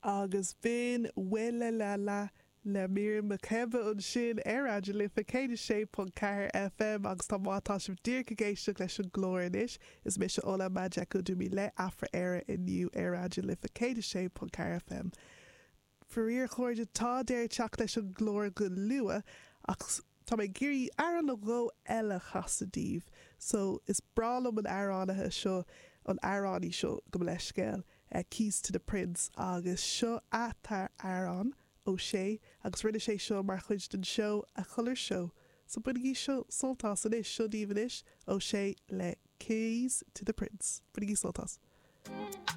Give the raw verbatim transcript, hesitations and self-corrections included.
Agus b'in Welela le Miriam Makeba ansin ar Raidió na Life céad a sé ponc ceathair FM agus tá má tá sibh díreach ag éisteacht leis an gclár anois is mise Ola Majekodunmi le Afra Éire inniu ar Raidió na Life céad a sé ponc ceathair FM. Faraor a chairde tá deireadh ag teacht leis an gclár go luath ach tá mé ag iarraidh amhrán nó dhó eile a chasadh daoibh so is breá liom an amhránaithe seo an amhránaí seo gabh mo leithscéal uh, Keys to the Prince agus seo ath-amhrán O'Shea agus rinne sé seo mar chuid den seó A Colour Show. So bainigí seo sult as anois seo daoibh anois O'Shea le Keys to the Prince. Bainigí sult as.